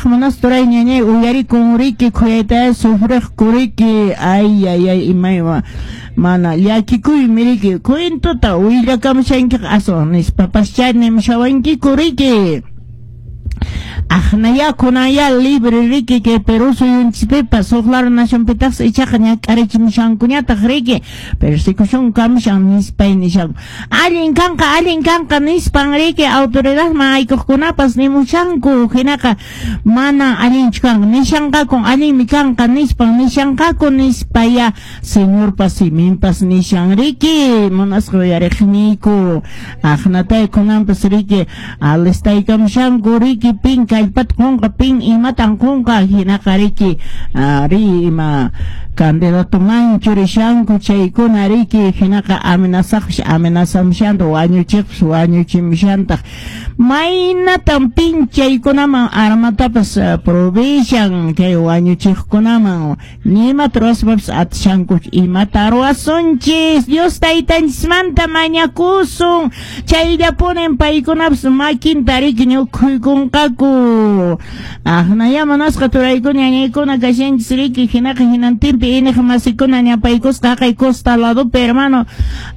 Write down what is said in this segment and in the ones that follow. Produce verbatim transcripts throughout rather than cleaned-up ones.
Maytaraq munasqa turay, ñañay, uyarikun riki, khuyayta sufriqku riki. Ay, ay, ay, imaywa mana llakikuymi riki, cuentota willakamushankiqa aswan nispapaschá nimushawankiku riki. Aqnaya kunanya libre riki kay Perú suyunchispipas, huk lado nacionpitaqsi ichaqa ñak'arichimushankuñataq riki, persecución kamushan nispay nishanku. Allin kanqa, allin kanqa nispan riki autoridadman aykuqkunapas nimushanku. Hinaqa mana allinchu kanqa nishanqakun, allinmi kanqa nispan nishanqaku nispaya Señorpas siminpas nishan riki, munasqa uyariqniyku. Aqnatay kunanpas riki alistaykamushanku riki, pin kallpata qunqa, pin imatan qunqa, hinaqa riki ri ima candidatoman churishanku chaykuna riki. Hinaqa amenazaqpis amenazamushantaq, wañuchiqpis wañuchimushantaq. Maynatan pin chaykunaman armatapas provishan kay wañuchiqkunaman? Ni imata ruwaspapas atishankuchu. Imata ruwasunchis? Dios taytanchismanta mañakusun, chayllapunin paykunapas makinta riki ñukhuykunqaku. Aqnaya munasqa turaykuna, ñañaykuna kashanchis riki. Hinaqa hinantinpi iñiq masikuna ñapaykusqa haqay costa ladopi, hermano.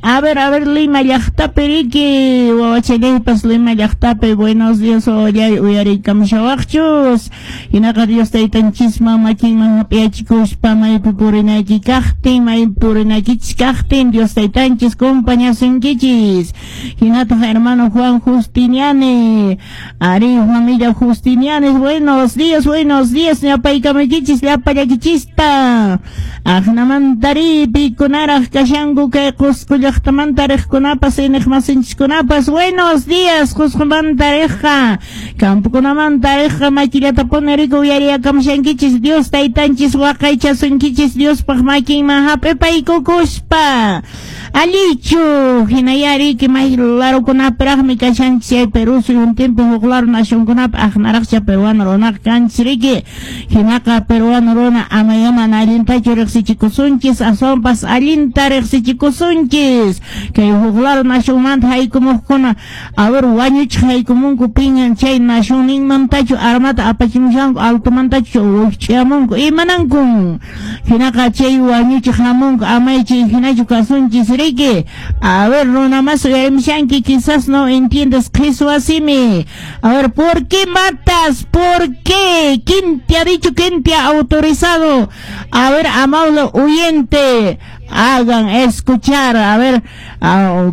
A ver, a ver, Lima llaqtapi riki, wawachallaypas Lima llaqtapi. Buenos días, wawallay, uyariykamushawaqchus. Hinaqa Dios taytanchisman makinman hap'iyachikuspa maypi purinayki kaqtin, maypi purinaykichis kaqtin, Dios taytanchis compañasunkichis. Hinataq hermano Juan Justiniani, ari familia Justinianes, buenos días, buenos días, ñapaykamaykichis llapallakichista. Aqnamantari pikunaraq kashanku kay Qusqu llaqtamanta riqkunapas, iñiq masinchiskunapas, buenos días. Qusqumanta riqqa, campokunamanta riqqa, makillatapuni riki uyariyakamushankichis. Dios taytanchis waqaychasunkichis Diospaq makinman hap'ipaykukuspa. Allichu hinaya riki may larukunapiraqmi kashanchis chay Perú suyuntinpi, huk lado nacionkunapi, aqnaraqcha peruano runaqa kanchis riki. Hinaqa peruano runa amaya mana allintachu riqsichikusunchis, aswanpas allinta riqsichikusunchis. Kay huk lado nacionmanta haykumuqkuna, a ver, wañuchiq haykumunku, pingan chay nacionninmantachu armata apachimushanku, altomantachu wikch'amunku, imanankun? Hinaqa chay wañuchiq hamunku, amay chay hinachu kasunchis riki. A ver, runa más uyarimushanki, quizás no entiendes qhichwa simi. A ver, ¿por qué matas? ¿Por qué? ¿Quién te ha dicho? ¿Quién te ha autorizado? A ver, amable oyente, hagan escuchar, a ver, a,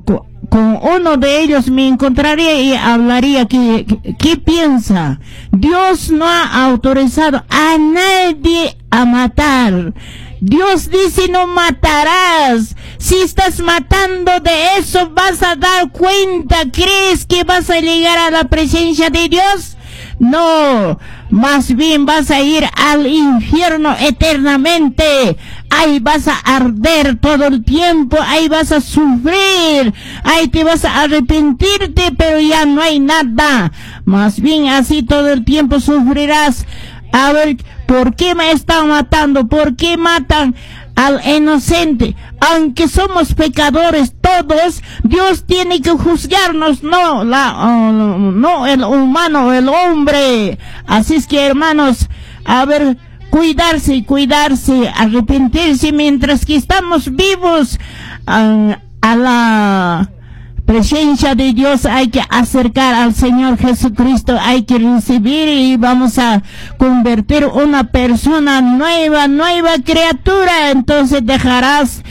con uno de ellos me encontraría y hablaría que, ¿qué piensa? Dios no ha autorizado a nadie a matar. Dios dice: "No matarás". Si estás matando, de eso vas a dar cuenta. ¿Crees que vas a llegar a la presencia de Dios? No, más bien vas a ir al infierno eternamente. Ahí vas a arder todo el tiempo, ahí vas a sufrir, ahí te vas a arrepentirte, pero ya no hay nada. Más bien así todo el tiempo sufrirás. A ver, ¿por qué me están matando? ¿Por qué matan al inocente? Aunque somos pecadores todos, Dios tiene que juzgarnos, no la, oh, no el humano, el hombre. Así es que, hermanos, a ver, cuidarse, cuidarse, arrepentirse mientras que estamos vivos. A, a la presencia de Dios hay que acercar al Señor Jesucristo, hay que recibir y vamos a convertir una persona nueva, nueva criatura. Entonces dejarás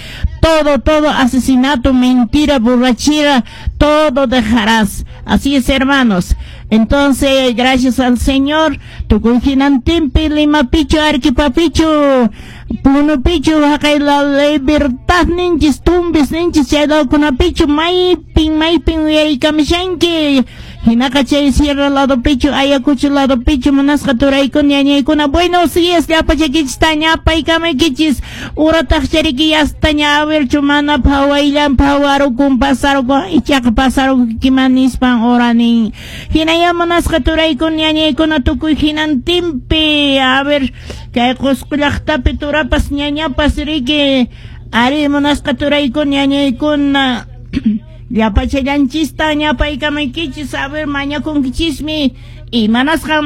todo, todo asesinato, mentira, borrachera, todo dejarás. Así es, hermanos. Entonces, gracias al Señor, tukuy hinantinpi, Limapichu, Arequipapichu, Punopichu, haqay la Libertad ninchis, Tumbes ninchis, chay lawkunapichu, maypin, maypin uyariykamushanki. Hinaqa chay sierra ladopichu, Ayacucho ladopichu, munasqa turaykuna, ñañaykuna, buenos días, llapachakichista ñapaykamaykichis. Urataq chariki yastaña awerchu mana phawayllan phawarukun pasarukun, ichaqa pasarukiman nispan oranin. Hinaya munasqa turaykuna, ñañaykuna, tukuy hinantinpi, a ver, kay Qusqu llaqtapi turapas ñañapas riki, ari munasqa turaykuna, ñañaykuna, llapachallanchista ñapaykamaykichis. A ver, mañakunkichismi imanasqa.